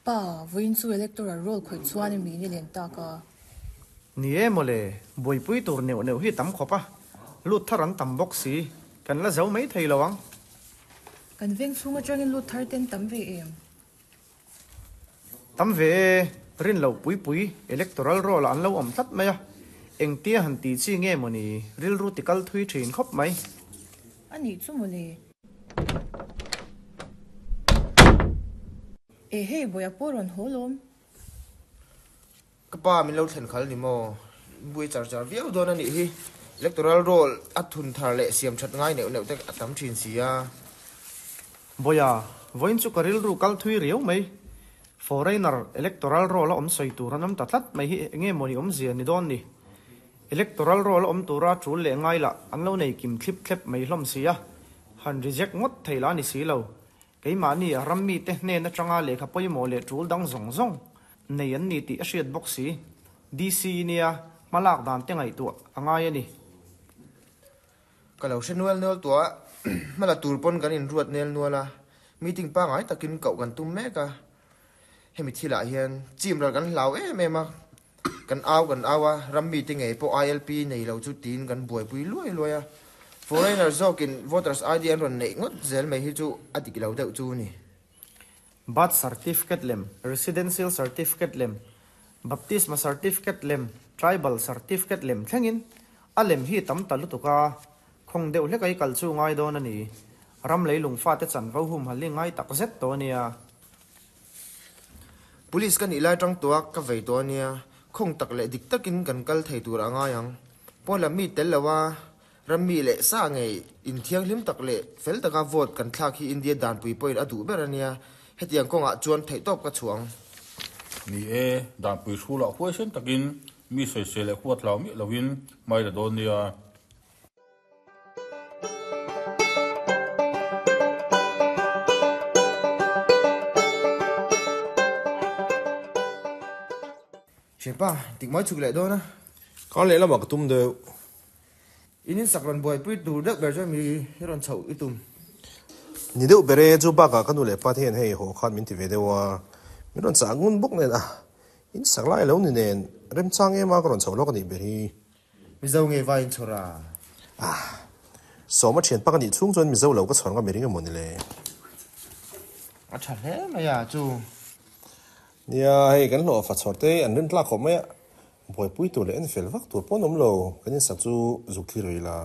Pa, vawiin chu electoral roll khawih chuan i mi ni len tak a. Ni e mawle, buaipui tur neuh neuh hi tam khawp a, lut thar an tam bawk si, kan la zo mai thei lo ang. Kan veng chhung atangin lut thar ten tam ve em? Tam ve e, rin loh pui pui electoral roll ah an lo awm tlat mai a, engtia han tih chi nge mawni rilru ti kal thui thin khawp mai. A nih chu mawle. E hei Bawiha pawh rawn haw lawm. Ka pa min lo thlen khal ni maw? In buai char char viau dawn a nih hi. Electoral roll a thun thar leh siam that ngai neuh neuh te a tam thin si a. Bawiha, vawiin chu ka rilru kal thui riau mai. Foreigner electoral roll a awm sawi tur an awm ta tlat mai hi enge mawni awmzia ni dawn ni? Electoral roll a awm tura tul leh ngai lah an lo nei kim thlip thlep mai hlawm si a, han reject ngawt thei lah a ni si lo. Keimahni a ram mite hnen atanga lehkha pawimawh leh tul dang zawng zawng nei an ni tih a hriat bawk si. DC nia hmalak dan te ngaihtuah a ngai a ni. Ka lo hre nual nual tuah a, hmala tur pawn kan inruat nel nual a, meeting pangngai takin koh kan tum mek a. Hemi thilah hian chim ral kan hlau em em a, Kan au kan au a, ram mite ngei pawh ILP nei lo chu tiin kan buaipui luai luai a. Foreigner zawkin voters ID an rawn neih ngawt zel mai hi chu a dik lo deuh chu a ni. Birth certificate lem, Residential certificate lem, Baptisma certificate lem, Tribal certificate lem thlengin a lem hi tam ta lutuk a, khawng deuh hlek a i kal chu ngai dawn a ni. Ram leilung fate chanvo humhalh hi ngai tak zet tawh a nia. Police ka nih lai tang tuah ka vei tawh a nia, khawng tak leh dik takin kan kal thei tur a ngai ang. Pawn lam mi tel lo a, ram mi leh sa ngei inthianghlim tak leh fel taka vote kan thlak hi India danpui pawhin a duh ber a nia, hetiang kawngah chuan theihtawp ka chhuah ang. Ni e, danpui hrulah huaisen takin mi sawisel leh huat hlau miah loin hmai la dawn nia. Thianpa, tik mai chhuk leh dawn a. Kar leh lamah ka tum deuh. In insak rawn buaipui tur deuh ber chuan mi hi rawn chhoh i tum. Ni deuh ber e, chu bakah ka nu leh pa te hian hei haw khan min ti ve deuh a, min rawn chah ngun bawk nen a, insak lai lo ni nen remchang em a ka rawn chhoh lawk a nih ber hi. Mizo nge vai in chhawr a? Ah. Sawma thian pak a nih chhung chuan Mizo lo ka chhawr ngam i ring emaw ni le? A tha hle mai a chu. Nia, hei kan hlawh fa chhawr te an rin tlak khawp mai a, buaipui tur leh en fel vak tur pawh an awm lo, kan insak chu zuk thlir rih la.